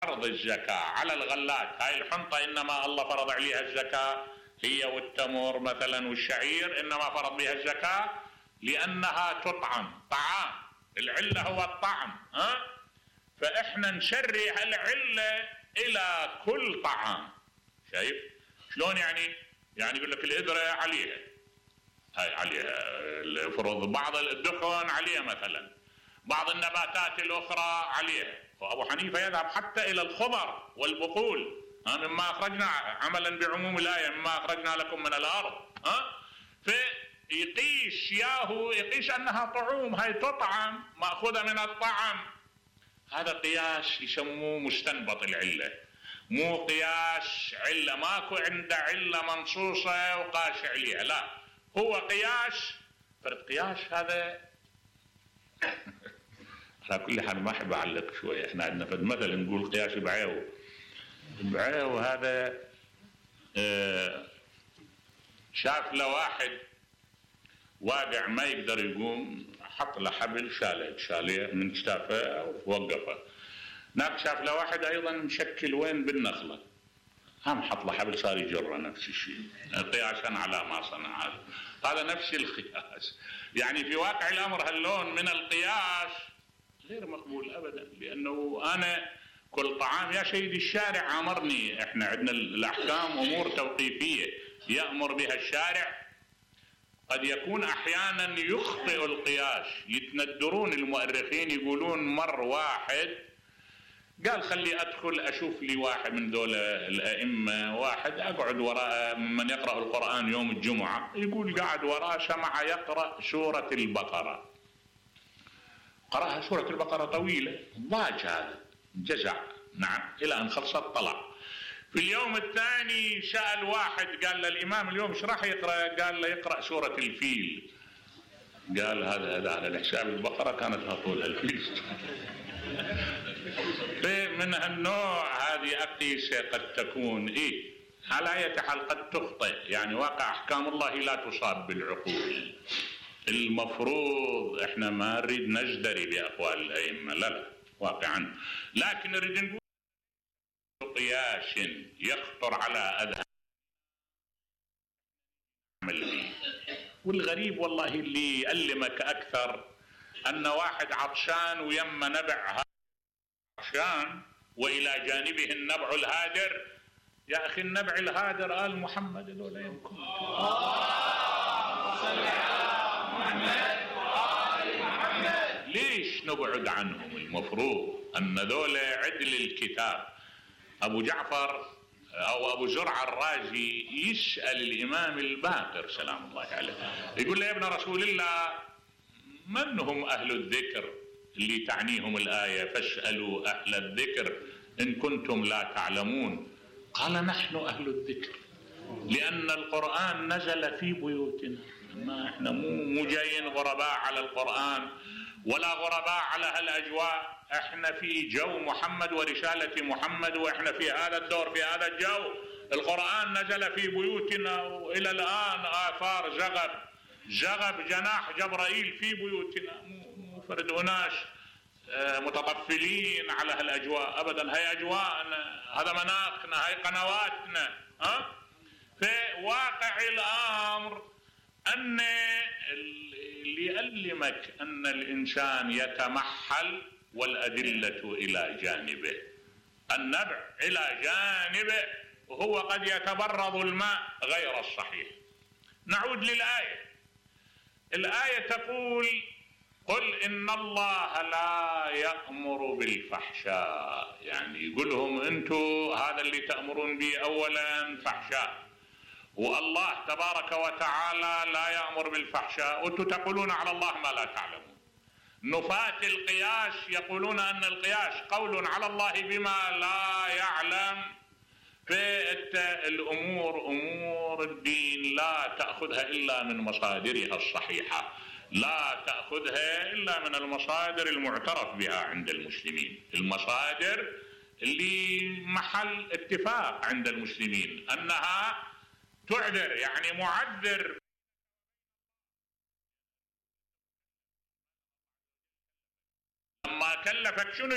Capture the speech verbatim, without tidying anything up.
فرض الزكاة على الغلات. هاي الحنطة إنما الله فرض عليها الزكاة، هي والتمر مثلا والشعير إنما فرض بها الزكاة لأنها تطعم، طعام، العلة هو الطعم. ها؟ فإحنا نشرع العلة إلى كل طعام. شايف شلون يعني؟ يعني يقول لك الإدرة عليها، هاي عليها فرض، بعض الدخن عليها مثلا، بعض النباتات الأخرى عليها. وأبو حنيفة يذهب حتى إلى الخضر والبقول، ها مما أخرجنا عملا بعموم الآية مما أخرجنا لكم من الأرض. ها فيقيش ياهو يقيش أنها طعوم، هاي تطعم مأخوذة من الطعم. هذا قياس يسموه مستنبط العلة، مو قياس علة، ماكو عنده علة منصوصة وقاش عليها، لا هو قياس فرد قياس. هذا على كل حال ما احب اعلق شوي، احنا عندنا فد مثل نقول قياس بعيو. بعيو هذا اه شاف له واحد واقع ما يقدر يقوم، حط له حبل شاله شاله من كتافه ووقفه. هناك شاف له واحد ايضا مشكل وين بالنخله، هم حط له حبل صار يجره، نفس الشيء قياسا على ما صنع. هذا هذا نفس القياس. يعني في واقع الامر هاللون من القياس غير مقبول ابدا، لانه انا كل طعام يا سيدي الشارع امرني. احنا عندنا الاحكام امور توقيفيه يامر بها الشارع، قد يكون احيانا يخطئ القياس. يتندرون المؤرخين يقولون مر واحد قال خلي ادخل اشوف لي واحد من دول الائمه، واحد اقعد وراء من يقرا القران يوم الجمعه، يقول قاعد وراه سمع يقرا سوره البقره، قراها سوره البقره طويله، ضاج هذا جزع، نعم، الى ان خلصت طلع. في اليوم الثاني سال واحد قال له الامام اليوم ايش راح يقرا؟ قال له يقرا سوره الفيل. قال هذا هذا على الحساب البقره كانت هطول الفيل. من هالنوع هذه أقيسة قد تكون إيه على أي حال قد تخطئ. يعني واقع أحكام الله لا تصاب بالعقول. المفروض إحنا ما نريد نجدري بأقوال الأئمة، لا لا واقعا، لكن نريد نقول قياس يخطر على أذهان. والغريب والله اللي يألمك أكثر أن واحد عطشان ويم نبع عطشان وإلى جانبه النبع الهادر. يا أخي النبع الهادر آل محمد لولا يمكن. ليش نبعد عنهم؟ المفروض أن ذولا عدل الكتاب. أبو جعفر أو أبو زرع الرازي يسأل الإمام الباقر سلام الله عليه، يقول له يا ابن رسول الله من هم أهل الذكر اللي تعنيهم الآية فاسألوا أهل الذكر إن كنتم لا تعلمون؟ قال نحن أهل الذكر لأن القرآن نزل في بيوتنا. ما احنا مو مو جايين غرباء على القرآن ولا غرباء على هالأجواء، احنا في جو محمد ورسالة محمد، واحنا في هذا الدور في هذا الجو. القرآن نزل في بيوتنا وإلى الآن آثار زغب زغب جناح جبرائيل في بيوتنا، مو فرد أناس متطفلين على هالأجواء أبدا. هاي أجواءنا، هذا مناخنا، هاي قنواتنا. ها في واقع الأمر أن اللي يألمك أن الإنسان يتمحل والأدلة إلى جانبه، النبع إلى جانبه، وهو قد يتبرد الماء غير الصحيح. نعود للآية. الآية تقول قل إن الله لا يأمر بالفحشاء. يعني يقولهم أنتم هذا اللي تأمرون به أولا فحشاء، والله تبارك وتعالى لا يأمر بالفحشاء، وأنتم تقولون على الله ما لا تعلمون. نفاة القياس يقولون أن القياس قول على الله بما لا يعلم. فالأمور أمور الدين لا تأخذها إلا من مصادرها الصحيحة، لا تأخذها إلا من المصادر المعترف بها عند المسلمين، المصادر اللي محل اتفاق عند المسلمين أنها تعذر، يعني معذر. لما كلفك شنو